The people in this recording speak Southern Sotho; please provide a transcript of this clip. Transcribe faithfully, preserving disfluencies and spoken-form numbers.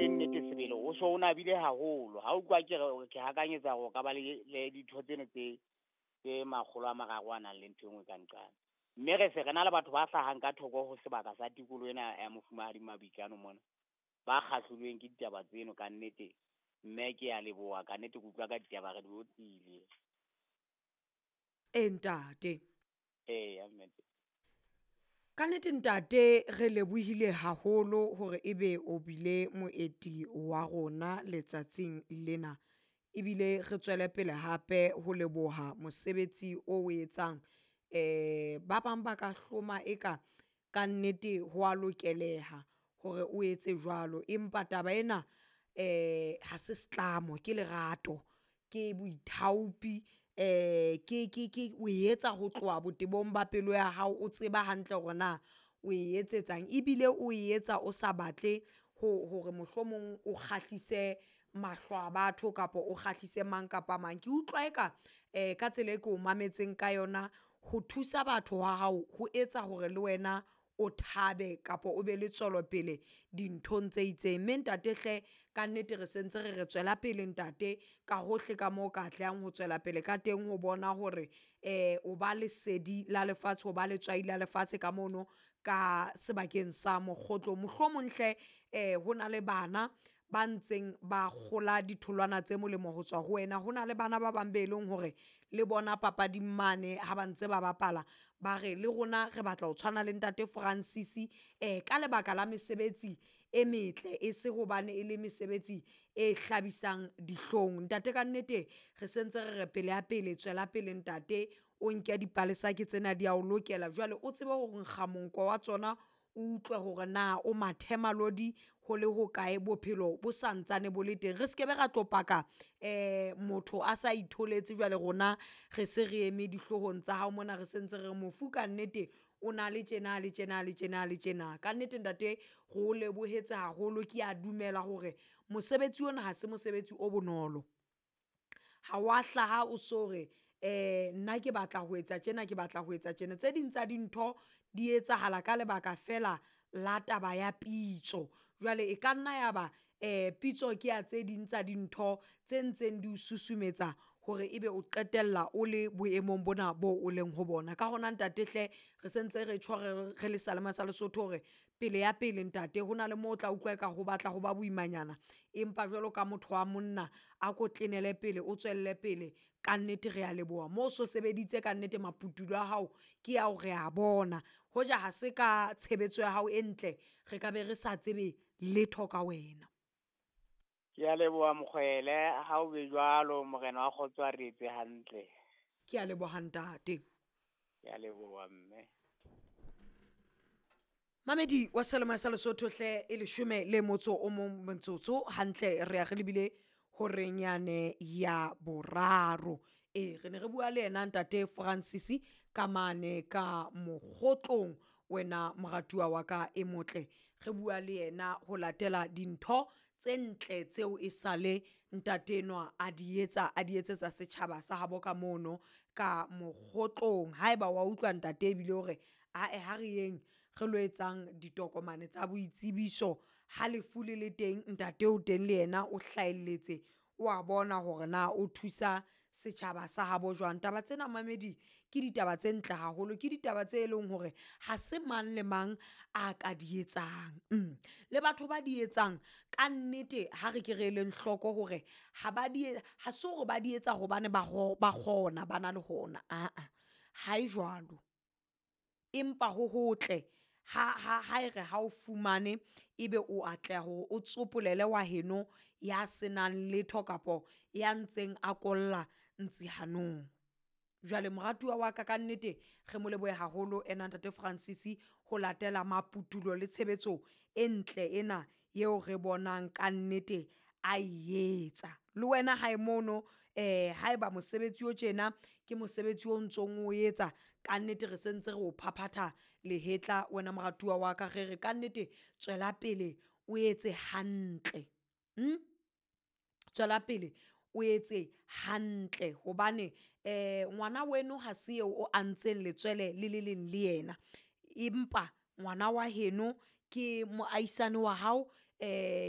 bue nnete sebele o so o nabile haholo. Ha o utlwa ke re ke hakanyetsa hore o ka ba le le ditho tseno tse tse makgolo a mararo a nang le ntho e nngwe ka nqane. Mme re se re na le batho ba hlahang ka thoko ho sebaka sa tikoloho ena ya Mofumahadi Mabikano mona, ba kgahlilweng ke ditaba tseno ka nnete. Mme ke a leboha ka nnete, ke utlwa ka ditaba re di otlile. E ntate. Eya mme. Ka nnete ntate re lebohile haholo hore ebe o bile moeti wa rona letsatsing lena, ebile re tswele pele hape ho leboha mosebetsi o o etsang. Eh ba bang ba ka hloma eka ka nnete ho a lokeleha hore o etse jwalo, empa taba ena eh ha se setlamo, ke lerato, ke boithaopi, eh ke ke ke o etsa ho tloha botebong ba pelo ya hao, o tseba hantle hore na o e etsetsang ebile o etsa o sa batle ho hore mohlomong o kgahlise mahlo a batho kapa o kgahlise mang kapa mang. Ke utlwa eka um ka tsela e ke o mametseng ka yona, ho thusa batho ha hao ho etsa hore le wena o thabe kapa o be le tswelopele dinthong tse itseng. Mme ntate hle ka nnete re sentse re re tswela pele ntate ka hohle ka moo ka atlehang ho tswela pele ka teng ho bona hore um o ba lesedi la lefatshe, o ba letswai la lefatshe ka mono ka sebakeng sa mokgotlong. Mohlomong hle um ho na le bana ba ntseng ba kgola ditholwana tse molemo ho tswa ho wena. Ho na le bana ba bang be leng hore le bona papading mane ha ba ntse ba bapala, ba re le rona re batla ho tshwana le ntate Francis um ka lebaka la mesebetsi e metle, e se hobane e le mesebetsi e hlabisang dihlong. Ntate ka nnete re sentse re re pele ya pele, tswela pele ntate, o nke dipalesa ke tsena di a o lokela. Jwale o tsebe ho nkga monko wa tsona, o utlwe hore na o mathemalodi ho le hokae, bophelo bo santsane bo le teng. Re skebe ra tlo paka um motho a sa itholetse, jwale rona re se re eme dihloohong tsa hao mona, re sentse re re mofu ka nnete o na le tjena le tjena le tjena le tjena. Ka nnete ntate re o lebohetse haholo, ke a dumela hore mosebetsi ona ha se mosebetsi o bonolo. Ha wa hlaha o so re um nna ke batla ho etsa tjena, ke batla ho etsa tjena. Tse ding tsa dintho di etsahala ka lebaka fela la taba ya pitso. Jwale e ka nna ya ba um pitso ke ya tse ding tsa dintho tse ntseng di o susumetsa hore ebe o qetella o le boemong bona bo o leng ho bona. Ka hona ntate hle re sentse re tjho re re le sealema sa Lesotho hore pele ya pele ntate ho na le moo o tla utlwa eka ho batla ho ba boimanyana, empa jwalo ka motho wa monna a ko tlenele pele, o tswelle pele. Ka nnete re a leboha mo o so sebeditse ka nnete, maputulo a hao ke ao re a bona. Hoja ha se ka tshebetso ya hao e ntle, re ka be re sa tsebe letho ka wena. Ke a leboha mokgwele, ha o be jwalo morena wa kgotso a re etse hantle. Ke a leboha ntate. Ke a leboha mme. Mamedi wa Selema sa Lesotho hle, e leshome le motso o mong motsotso hantle re ya re lebile horeng yane ya boraro. E re ne re bua le yena ntate Francis ka mane ka mokgotlong, wena moratuwa wa ka e motle. Re bua le yena ho latela dintho tse ntle tseo e sale ntate enwa a di etsa, a di etsetsa setjhaba sa habo ka mono ka mokgotlong. Haeba wa utlwa ntate ebile hore ae ha re yeng re lo etsang ditokomane tsa boitsebiso, ha lefu le le teng ntate o teng le yena o hlahelletse, o a bona hore na o thusa setjhaba sa habo jwang. Taba tsena mamedi ke ditaba tse ntle haholo, ke ditaba tse leng hore ha se mang le mang a ka di etsang. Mm. Le batho ba di etsang ka nnete ha re ke re eleng hloko hore ha ba di ha se hore ba di etsa hobane ba ba kgona ba na le hona, aa ha e jwalo. Empa ho hotle ha ha ha e re ha o fumane ebe o atleha hore o tsopolele wa heno ya senang letho kapo ya ntseng a kolla ntsi hanong. Jwale moratuwa wa ka ka nnete re mo lebohe haholo ena ntate Francis ho latela maputulo le tshebetso e ntle ena eo re bonang ka nnete a e etsa. Le wena hae mono eh haeba mosebetsi o tjena ke mosebetsi o ntsong o etsa, ka nnete re sentse re o phaphatha lehetla wena moratuwa wa ka, re re ka nnete tswela pele o etse hantle. Mm? Tswela pele o etse hantle hobane eh ngwana weno ha se eo o antseng letswele le le leng le yena, empa ngwana wa heno ke moahisane wa hao, eh